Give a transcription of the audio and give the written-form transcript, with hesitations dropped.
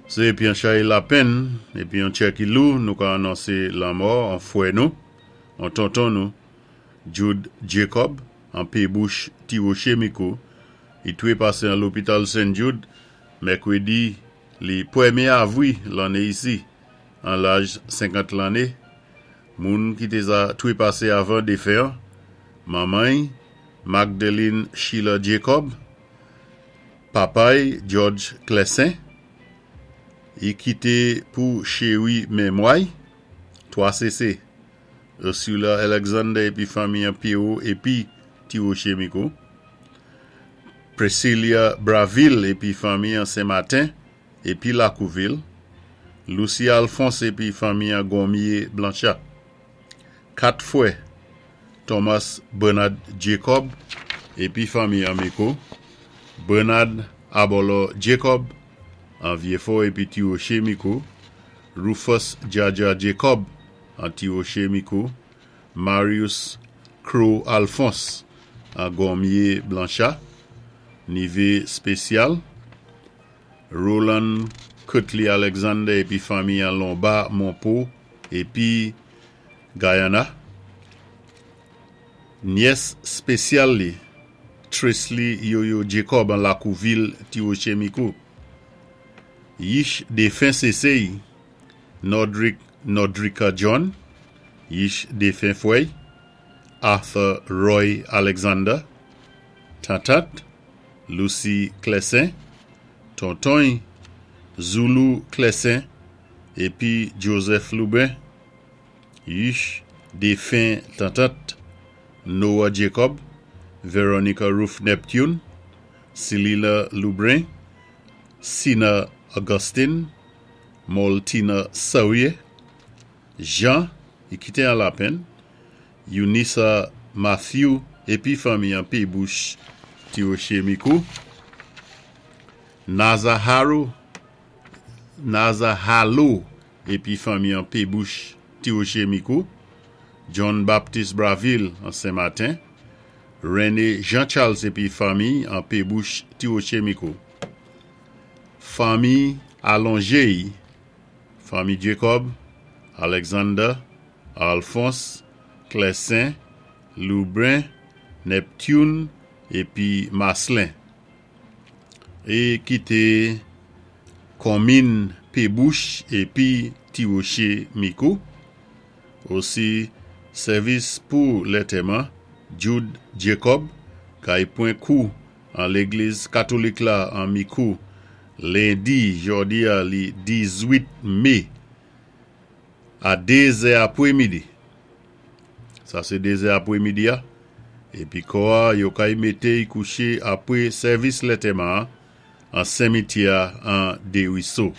Sé épi an chay lapenn épi an tchè ki lou nou ka anonsé lanmò an fwè nou, an tonton nou, Jude Jacob, an Pébouch Ti Woché Mikou, i twépasé an lopital Sen Jude mèkwédi li pwèmyé avwi lanné isi, an laj 50 lanné. Moun ki té za twépasé avan défen an, manman-y, Magdeline Sheila Jacob, Papa-y George Clessin, i kité pou chéwi mémwa-y, 3 sésé, Ursula Alexander épi fanmi an Pierrot épi Ti Woché Mikou, Priscilla Braville épi fanmi an Sen Maten épi Lakouvil, Lucie Alphonse épi fanmi an Gonmye Blancha. 4 fwè, Thomas Bernard Jacob épi fanmi an Mikou, Bernard Abolo Jacob an Vyefò épi Ti Woché Mikou, Rufus Jaja Jacob an Ti Woché Mikou, Marius Crow Alphonse an Gonmye Blancha, Nivé Spésyal, Roland Curtly Alexander épi fanmi an Lomba Monpo épi Guyana, Nyès spésyal li, Tresley Yoyo Jacob an Lakouvil Ti Woché Mikou, Yich défen sésé-y, Nordrick Nordrika John, yich défen fwè-y, Arthur Roy Alexander, tantant, Lucie Clessin, tonton-y, Zulu Clessin épi Joseph Lubin, yich défen tantant, Noah Jacob, Veronica Ruth Neptune, Celila Lubrin, Sina Augustine, Moltina Sawyer, Jean, i kité an lapenn, Eunissa Matthew épi fanmi an Pébouch Ti Woché Mikou, Naza Harrow, Naza Hallo épi fanmi an Pébouch Ti Woché Mikou, John Baptiste Braville an Sen Maten, René Jean Charles épi fanmi an Pébouch Ti Woché Mikou. Fanmi alonjé-y, fanmi Jacob, Alexander, Alphonse, Clessin, Lubin, Neptune épi Marcelin é ki konmin Pébouch épi Ti Woché Mikou. Osi sèvis pou lantèman Jude Jacob kay pwan kou an légliz katolik la an Mikou lendi jòdi-a li 18 mé a 2 zè apwémidi. Sa sé 2 zè apwémidi-a. Épi kò-a yo kay mété-y kouché apwé sèvis lantèman an simityè an Desruisseaux.